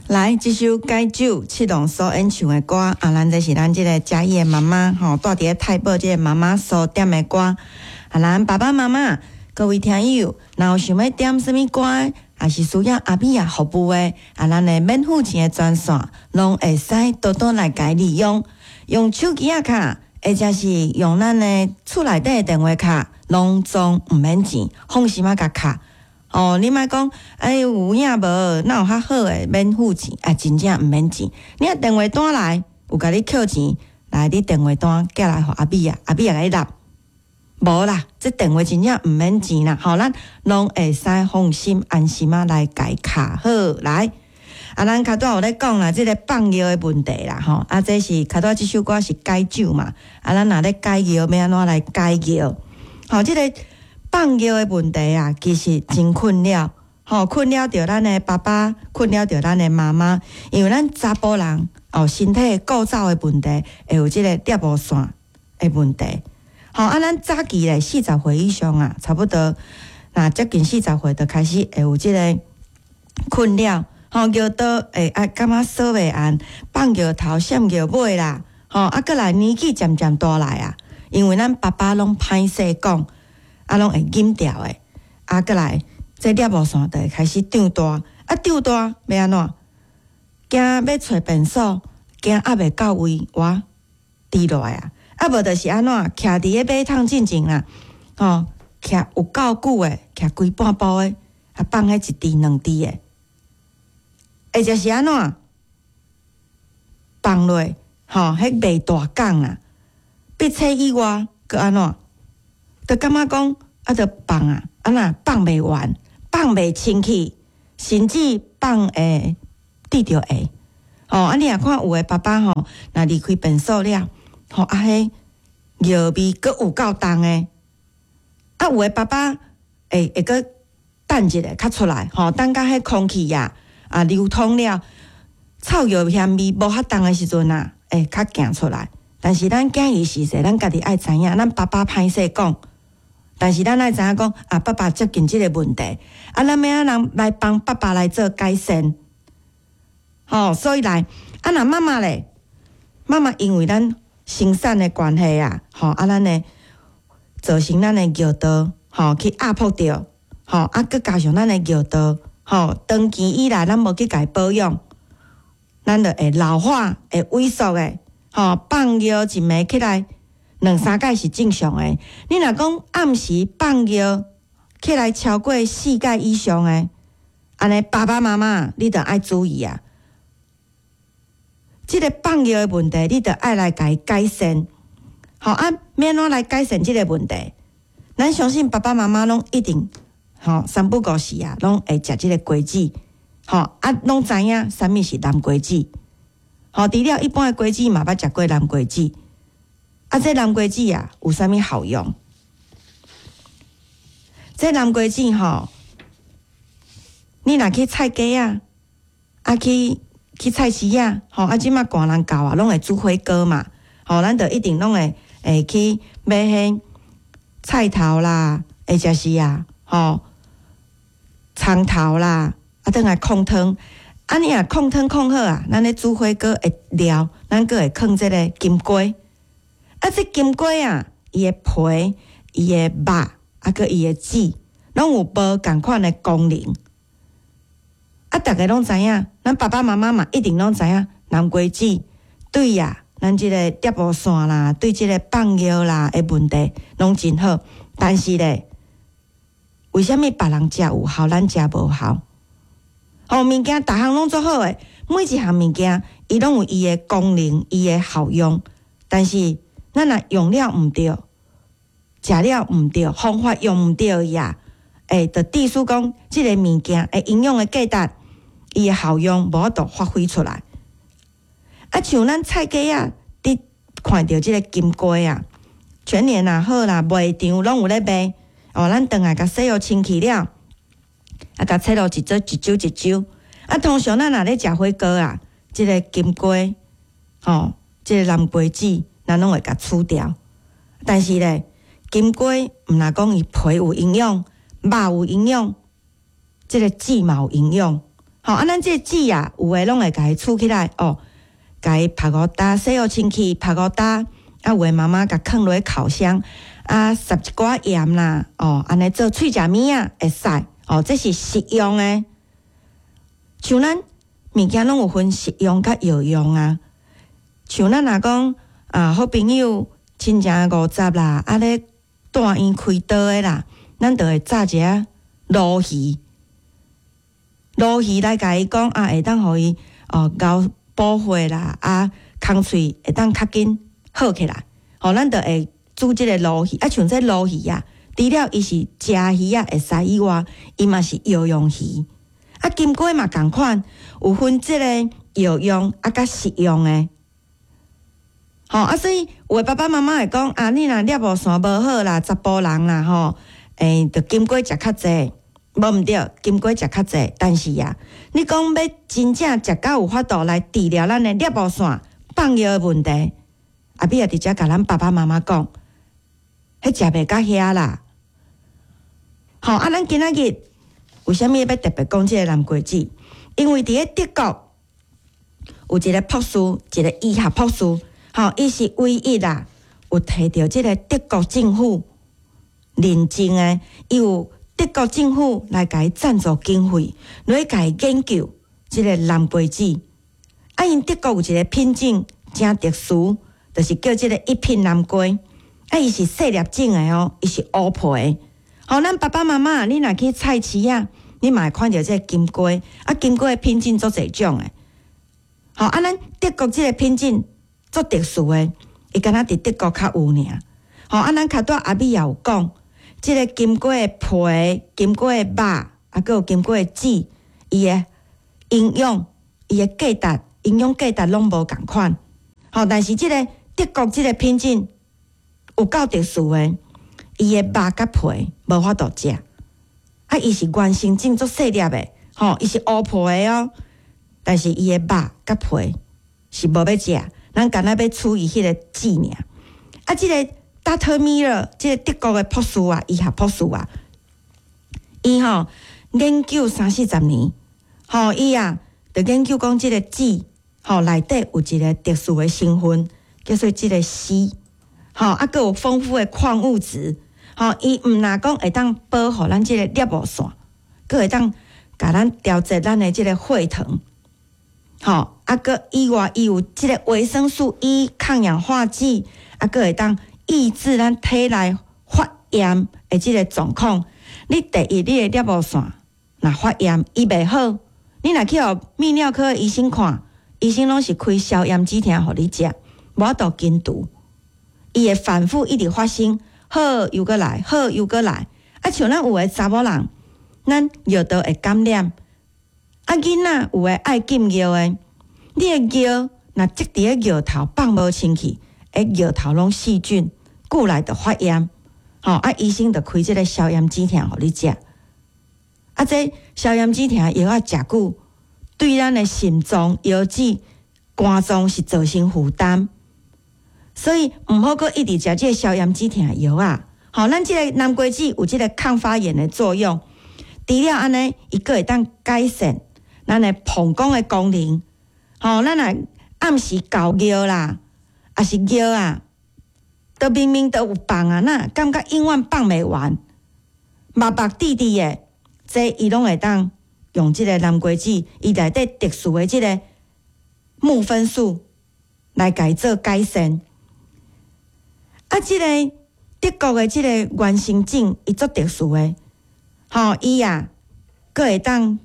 來，這首解酒七龍所演唱的歌，啊，咱這是咱這个嘉義的媽媽吼，蹛佇咧太保這个媽媽所點的歌。啊，咱爸爸媽媽各位聽友，若有想欲點啥物歌，抑是需要阿美仔服務的，啊，咱的免付錢的專線，攏會使多多來共利用，用手機仔卡，或者是用咱的厝內底的電話卡，攏總毋免錢，放心仔共敲。哦，你莫講，哎，有影無？哪有較好的免付錢？啊，真正毋免錢。你若電話單來，有共你扣錢，來，你電話單寄來予阿美仔，阿美仔共你納。無啦，這電話真正毋免錢啦，吼，咱攏會使放心安心仔來共敲好來。啊，咱較拄有咧講啦，這个放尿的問題啦，吼，啊，這是較拄這首歌是解酒嘛，啊，咱若咧解尿，欲按怎來解尿？吼，這个放尿的問題啊，其實真困擾，吼，困擾著咱的爸爸，困擾著咱的媽媽，因為咱查埔人哦，身體構造的問題，會有這个尿布線的問題。吼，啊，咱早期咧40歲以上啊，差不多，若接近四十歲就開始會有這个困擾，吼，尿道會啊感覺掃袂絚，放尿頭閃尿尾啦，吼，啊，閣來年紀漸漸大來啊，因為咱爸爸攏歹勢講。啊，攏會忍牢的，啊，閣來，這尿布線就會開始長大，啊，長大欲按怎？驚欲揣便所，驚壓袂到位，哇，滴落來啊！啊，無就是按怎？徛佇咧馬桶進前啦，吼，徛有夠久的，徛規半晡的，啊，放彼一滴兩滴的，或者是按怎？放落，吼，彼袂大港啦，鼻屎以外，閣按怎？就感覺講，啊，著放啊，啊若放袂完，放袂清氣，甚至放會滴著下。吼，啊，你若看有的爸爸吼，若離開便所了，吼，啊，彼尿味閣有夠重的。啊，有的爸爸會會閣等一下較出來，吼，等甲彼空氣啊啊流通了，臭尿嫌味無遐重的時陣啊，會較行出來。但是咱囝兒是說，咱家己愛知影，咱爸爸歹勢講。但是咱愛知影講，啊，爸爸接近這个問題，啊，咱欲按怎來幫爸爸來做改善？吼，所以來，啊，若媽媽咧，媽媽因為咱生產的關係啊，吼，啊，咱的造成咱的尿道，吼，去壓迫著，吼，啊，閣加上咱的尿道，吼，長期以來咱無去共伊保養，咱就會老化，會萎縮的，吼，放尿一暝起來兩三擺是正常的。你若講暗時放尿起來超過四擺以上的，按呢爸爸媽媽你著愛注意啊。這个放尿的問題，你著愛來共伊改善。吼啊，欲按怎來改善這个問題？咱相信爸爸媽媽攏一定吼三不五時啊，攏會食這个瓜子。吼啊，攏知影啥物是南瓜子。吼，除了一般的瓜子嘛，捌食過南瓜子。啊，這南瓜子啊，有啥物效用？這南瓜子吼，你若去菜街仔，啊去去菜市仔，吼啊，這馬寒人到啊，攏會煮火鍋嘛，吼，咱就一定攏會會去買彼菜頭啦，或者是啊，吼蔥頭啦，啊，轉來炕湯。啊，你若炕湯炕好啊，咱咧煮火鍋的料，咱閣會囥這个金瓜。啊，這金瓜啊，伊的皮、伊的肉，啊，閣伊的籽，攏有無仝款的功能。啊，逐家攏知影，咱爸爸媽媽嘛一定攏知影，南瓜子對啊，咱這个尿布線啦，對這个放尿啦的問題攏真好。但是咧，為啥物別人食有效，咱食無效？吼，物件逐項攏足好的，每一項物件伊攏有伊的功能、伊的效用，但是咱若用了毋對，食了毋對，方法用毋對伊啊，會就致使講這个物件的營養的價值，伊的效用無法度發揮出來。啊，像咱菜街仔，佇看著這个金瓜啊，全聯也好啦，賣場攏有咧賣。哦，咱轉來共洗予清氣了，啊，共切落一撮一揪一揪。啊，通常咱若咧食火鍋啊，這个金瓜，吼，這个南瓜子，咱攏會共除掉。但是咧，金瓜毋若講伊皮有營養，肉有營養，這个籽嘛有營養。吼，啊，咱這個籽啊，有的攏會共伊儲起來哦，共伊曝五晝，洗予清氣，曝五晝，啊，有的媽媽共囥落去烤箱，啊，撒一寡鹽啦，哦，按呢做喙食物仔會使，哦，這是食用的。像咱物件攏有分食用佮藥用啊。像咱若講啊，好朋友親情五十啦，啊咧住院開刀的啦，咱就會炸一下鱸魚，鱸魚來共伊講啊，會當予伊哦熬補血啦，啊，空喙會當較緊好起來。吼，咱就會煮這個鱸魚，啊，像這鱸魚啊，除了伊是食魚仔會使以外，伊嘛是藥用魚。啊，金瓜嘛仝款，有分這個藥用啊，佮食用的。吼，啊，所以有的爸爸媽媽會講啊，你若尿布腺無好啦，查埔人啦吼，就金瓜食較濟，無毋對，金瓜食較濟，但是啊，你講欲真正食到有法度來治療咱的尿布腺放尿的問題，阿美也佇遮共咱爸爸媽媽講，彼食袂到遐啦。吼，啊，咱今仔日為啥物欲特別講這個南瓜籽？因為佇咧德國有一個博士，一個醫學博士，吼，伊是唯一啦，有提著這個德國政府認證的，伊有德國政府來共伊贊助經費，來共伊研究這個南瓜籽。啊，𪜶德國有一個品種誠特殊，就是叫這個一品南瓜。啊，伊是細粒種的哦，伊是烏皮的。吼，咱爸爸媽媽，你若去菜市仔，你嘛會看著這個金瓜。啊，金瓜的品種足濟種的。吼，啊，咱德國這個品種足特殊的，伊敢若佇德國較有爾。吼，啊，咱較拄阿美也有講，這個金瓜的皮、金瓜的肉，啊，閣有金瓜的籽，伊的營養、伊的價值、營養價值攏無仝款。吼，但是這個德國這個品種有夠特殊的，伊的肉佮皮無法度食。啊，伊是原生種足細粒的，吼，伊是烏皮的哦。但是伊的肉佮皮是無欲食，咱干焦欲取伊彼個籽爾。啊，這個 Doctor Miller，這個德國的博士啊，醫學博士啊，伊吼研究三四十年，吼伊啊，就研究講這個籽吼內底有一個特殊的成分，叫做這個硒，吼啊，閣有豐富的礦物質，吼伊毋但講會當保護咱這個尿布腺，閣會當共咱調節咱的這個血糖。吼，啊，閣以外，伊有這個維生素 E 抗氧化劑，啊，閣會當抑制咱體內發炎的這個狀況。你第一，你的尿布腺若發炎，伊袂好，你若去予泌尿科的醫生看，醫生攏是開消炎止疼予你食，無法度根除。伊會反覆一直發生，好又閣來，好又閣來。啊，像咱有的查某人，咱尿道會感染。啊，囡仔有的愛禁尿的，你的尿若積佇咧尿頭放無清氣，尿頭攏細菌，久來就發炎。吼，啊，醫生就開這個消炎止疼予你食。啊，這消炎止疼藥仔食久，對咱的腎臟、腰子、肝臟是造成負擔，所以毋好閣一直食這個消炎止疼藥仔。吼，咱這個南瓜籽有這個抗發炎的作用，除了按呢，伊閣會當改善咱的膀胱的功能。吼，咱若暗時猴尿啦，抑是尿啊，都明明都有放啊，哪感覺永遠放袂完，目目滴滴的，這伊攏會當用這個南瓜籽，伊內底特殊的這個木酚素來共伊做改善。啊，這個德國的這個原生種，伊足特殊的，吼，伊啊，閣會當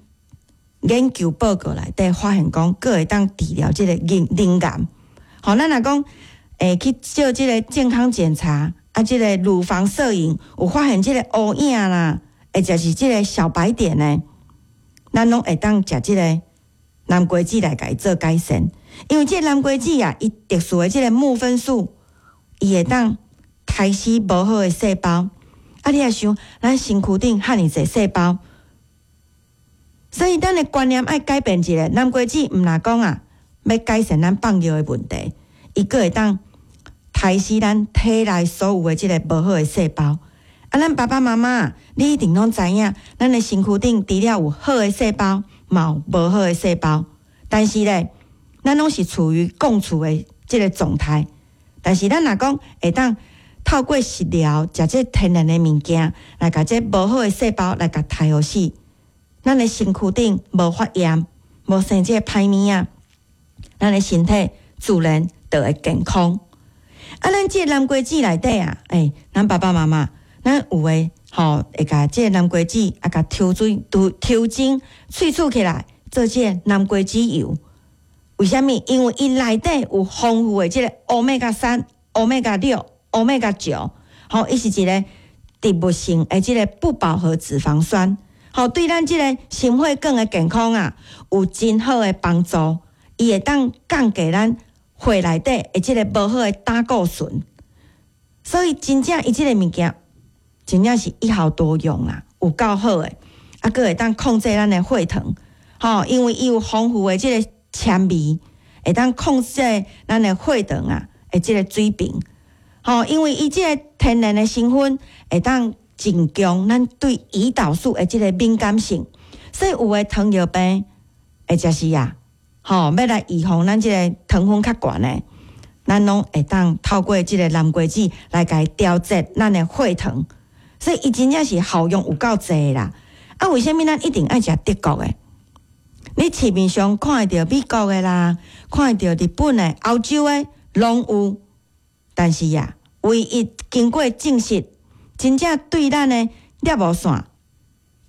研究報告內底發現講，閣會當治療這個乳癌。吼，咱若講去做這個健康檢查，啊，這個乳房攝影有發現這個烏影啦，或者是這個小白點呢，咱攏會當食這個南瓜籽來共伊做改善。因為這個南瓜籽啊，伊特殊的這個木酚素，伊會當殺死無好的細胞。啊，你若想，咱身軀頂遐爾濟細胞，所以咱的觀念愛改變一下。南瓜籽毋但講啊，欲改善咱放尿的問題，伊閣會當殺死咱體內所有的這個無好的細胞。啊，咱爸爸媽媽，你一定攏知影，咱的身軀頂除了有好的細胞，嘛有無好的細胞，但是咧，咱攏是處於共處的這个狀態。但是咱若講會當透過食療，食這天然的物件，來共這無好的細胞來共刣予死，咱的身軀頂無發炎，無生這个歹物仔，咱的身體自然就會健康。啊，咱這个南瓜子內底啊，欸，咱爸爸媽媽，咱有的吼會共這个南瓜子啊，共抽水、抽精、萃取起來，做這个南瓜子油。為啥物？因為伊內底有豐富的這个歐米伽3、歐米伽6、歐米伽9，吼，伊是一个植物性的這个不飽和脂肪酸，吼，對咱這个心血管的健康啊，有真好的幫助。伊會當降低咱血內底的這个無好的膽固醇，所以真正伊這个物件，真正是一效多用啊，有夠好的，啊，閣會當控制咱的血糖，吼，因為伊有豐富的這个纖維，會當控制咱的血糖啊，的這个水平，吼，因為伊這个天然的成分會當增強咱對胰島素的這个敏感性，所以有的糖尿病或者是啊，吼，欲來預防咱這个糖分較懸的，咱攏會當透過這个南瓜子來共伊調節咱的血糖，所以伊真正是效用有夠濟啦。啊，為啥物咱一定愛食德國的？你市面上看會著美國的啦，看會著日本的、歐洲的，攏有。但是啊，唯一經過證實，真正對咱的尿無線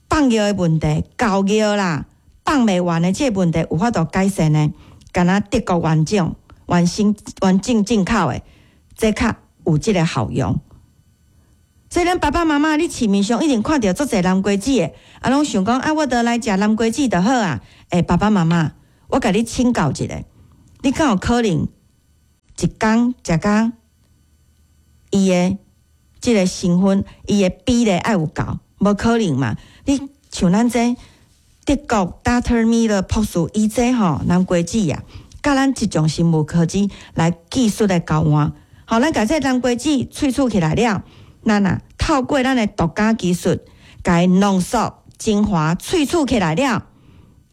放尿的問題、高尿啦、放袂完的這个問題有法度改善的，敢若德國原種、原生、原種進口的，這較有這个效用。所以咱爸爸媽媽，你市面上一定看著足濟南瓜子的，啊，攏想講啊，我著來食南瓜子就好啊。欸，爸爸媽媽，我共你請教一下，你敢有可能一工食甲伊的這个成分，伊的比例愛有夠？無可能嘛？你像咱這德國 Dr. Müller 博士，伊這吼南瓜子啊，佮咱這種生物科技來技術的交換，吼，咱共這南瓜子萃取起來了，咱啊透過咱的獨家技術，共伊濃縮精華萃取起來了，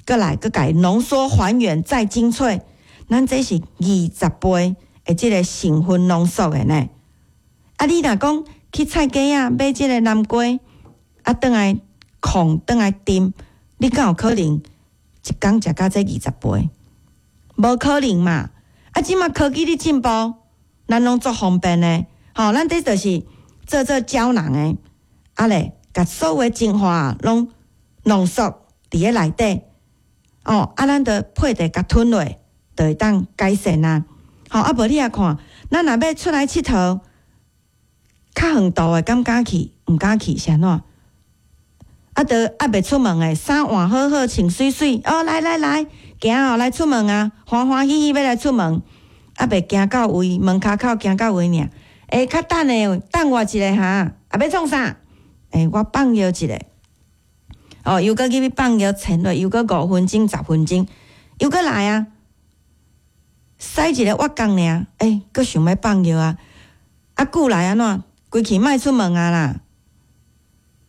閣來閣共伊濃縮還原再精粹，咱這是20倍的這个成分濃縮的呢。啊，你若講去菜市仔買這个南瓜，啊，轉來炕，轉來炖，你敢有可能一工食甲這20杯？無可能嘛！啊，這馬科技咧進步，咱攏足方便的，吼，咱這就是做做膠囊的，啊咧，共所有的精華攏濃縮佇咧內底，哦，啊，咱就配茶共吞落，就會當改善啊。吼，啊，無你也看，咱若欲出來𨑨迌，較遠途的敢敢去？毋敢去，是按怎？啊，都猶未出門的，衫換好好，穿媠媠，哦，來來來，行哦，來出門啊，歡歡喜喜欲來出門，猶未行到位，門跤口行到位爾。欸，較等下，等我一下哈，啊，欲創啥？欸，我放尿一下。哦，又閣入去放尿，潜落，又閣5分鐘、10分鐘，又閣來啊！駛一个倚工爾，欸，閣想欲放尿啊！啊，久來按怎？規氣莫出門啊啦！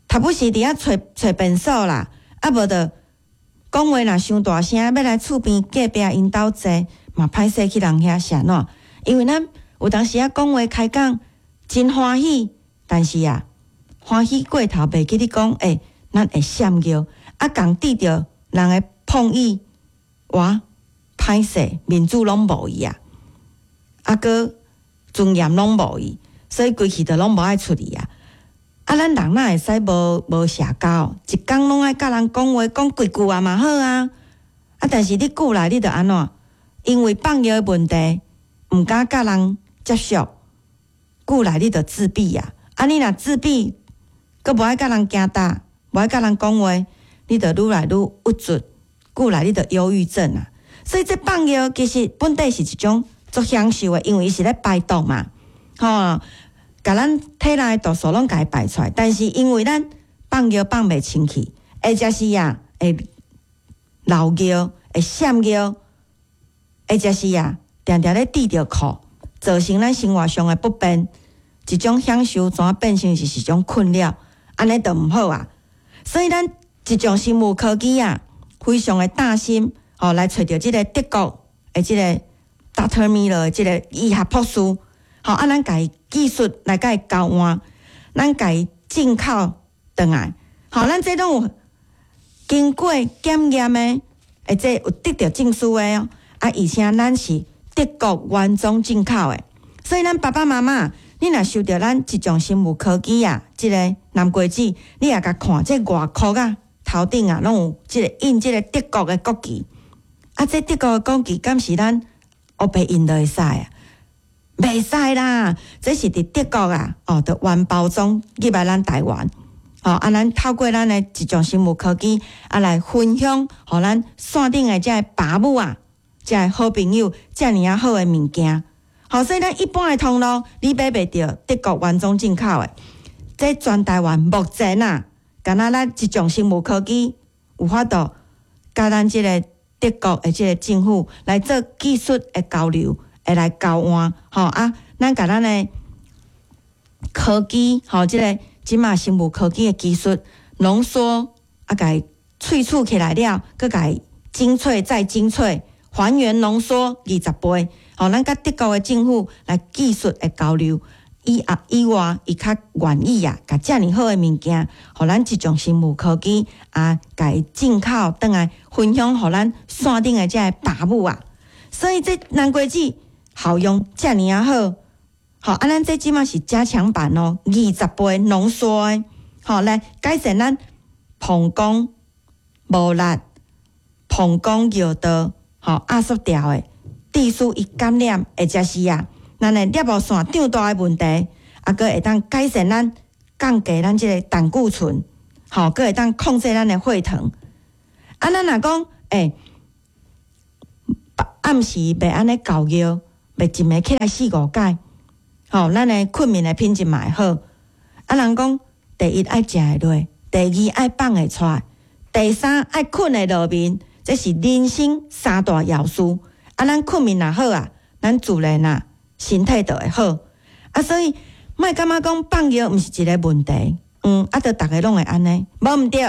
頭不時佇遐揣揣便所啦，啊無就講話若傷大聲，欲來厝邊隔壁𪜶兜坐，嘛歹勢去人遐，是按怎？因為咱有當時仔講話開講真歡喜，但是啊，歡喜過頭袂記得講，欸，咱會閃尿，啊，共佇著人的碰意，哇，歹勢，面子攏無去啊，啊，閣尊嚴攏無去，所以規氣就攏無愛出去啊。啊，咱人哪會使無無社交？一工攏愛佮人講話，講幾句啊嘛好啊。啊，但是你久來你就按怎？因為放尿的問題，毋敢佮人接觸，久來你就自閉啊。啊，你若自閉，閣無愛佮人行搭，無愛佮人講話，你就愈來愈鬱卒，久來你就憂鬱症啊。所以這放尿其實本底是一種足享受的，因為伊是咧排毒嘛，吼。共咱體內毒素攏共伊排出來，但是因為咱放尿放袂清氣，或者是啊會漏尿、會閃尿，或者是啊定定咧滴著褲，造成咱生活上的不便，一種享受怎變成是一種困擾，按呢就毋好啊。所以咱這種生物科技啊，非常的擔心，吼，來揣著這个德國的這个 Doctor Miller 的這个醫學博士，吼，啊，咱共伊技術來共伊交換，咱共伊進口轉來，吼，咱這攏有經過檢驗的，會這有得著證書的哦，啊，而且咱是德國原裝進口的，所以咱爸爸媽媽，你若收著咱一眾生物科技啊，這个南瓜子，你也共看這外殼啊，頭頂啊，攏有這个印這个德國的國旗，啊，這德國的國旗敢是咱烏白印就會使啊？袂使啦，這是佇德國啊，哦，著原包裝入來咱台灣，吼，啊，咱透過咱的一眾生物科技啊來分享，予咱線頂的這个爸母啊，這个好朋友，遮爾仔好的物件，吼，所以咱一般的通路你買袂著德國原裝進口的，這全台灣目前啊，敢若咱一眾生物科技有法度，佮咱這个德國的這个政府來做技術的交流，會來交換，吼啊，咱共咱的科技，吼，這个這馬生物科技的技術濃縮，啊，共伊萃取起來了，閣共伊精粹再精粹，還原濃縮20倍，吼，咱佮德國的政府來技術的交流，以啊以外，伊較願意啊，共遮爾好的物件，予咱一眾生物科技啊，共伊進口轉來分享，予咱線頂的這个爸母啊，所以這南瓜子效用遮爾仔好，吼啊！咱這這馬是加強版哦，20倍濃縮的，吼來改善咱膀胱無力、膀胱尿道吼壓縮掉的，致使伊感染，或者是啊，咱的尿路線脹大的問題，啊，閣會當改善咱降低咱這个膽固醇，吼，閣會當控制咱的血糖。啊，咱若講欸，暗時袂按呢厚尿，袂一暝起來四五擺，吼，咱的睏眠的品質嘛會好。啊，人講第一愛食會落，第二愛放會出來，第三愛睏會落眠，這是人生三大要事。啊，咱睏眠若好啊，咱自然啊身體就會好。啊，所以莫感覺講放尿毋是一个問題，啊，著逐个攏會按呢，無毋對，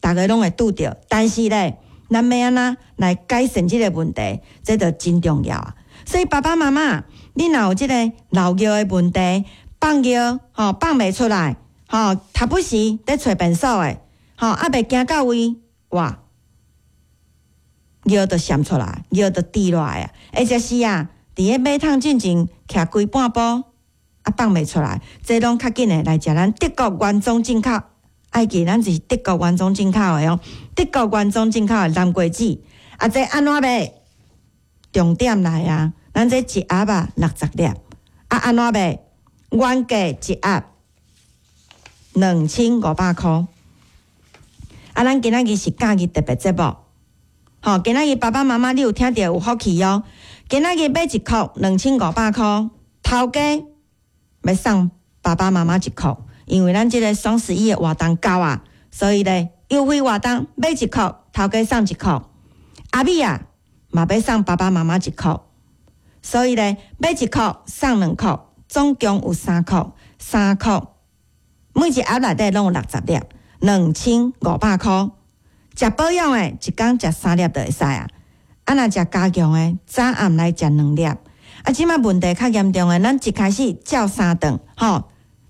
逐个攏會拄著。但是咧，咱欲按怎來改善這个問題，這就真重要啊。所以爸爸媽媽，你若有這个漏尿的問題，放尿吼放袂出來，吼，時不時咧揣便所的，吼，啊袂行到位，哇，尿就滲出來，尿就滴落來啊，或者是啊，佇咧馬桶進前徛規半晡，啊放袂出來，這攏較緊的來食咱德國原裝進口，愛記咱是德國原裝進口的哦，德國原裝進口的南瓜子，啊這按怎賣？重點來啊！咱這一盒啊60粒，啊按怎賣？原價一盒2500箍。啊，咱今仔日是假日特別節目，吼！今仔日爸爸媽媽你有聽著有福氣哦。今仔日買一箍2500箍，頭家欲送爸爸媽媽一箍，因為咱這个雙十一的活動到啊，所以咧優惠活動買一箍，頭家送一箍。阿米啊嘛欲送爸爸媽媽一箍，所以咧買一箍送2箍，總共有三箍，三箍，每一盒內底攏有60粒，2500箍。食保養的，一工食三粒就會使啊。啊，若食加強的，早暗來食兩粒。啊，這馬問題較嚴重的，咱一開始照三頓，吼，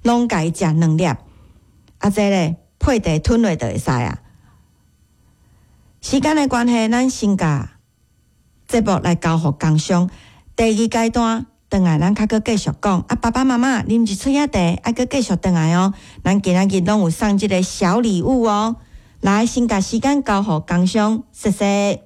攏共伊食兩粒。啊，這咧配茶吞落就會使啊。時間的關係，咱先共節目來交予工商。第二階段，轉來咱較閣繼續講。啊，爸爸媽媽啉一喙仔茶，愛閣繼續轉來哦。咱今仔日攏有送這个小禮物哦。來，先共時間交予工商，謝謝。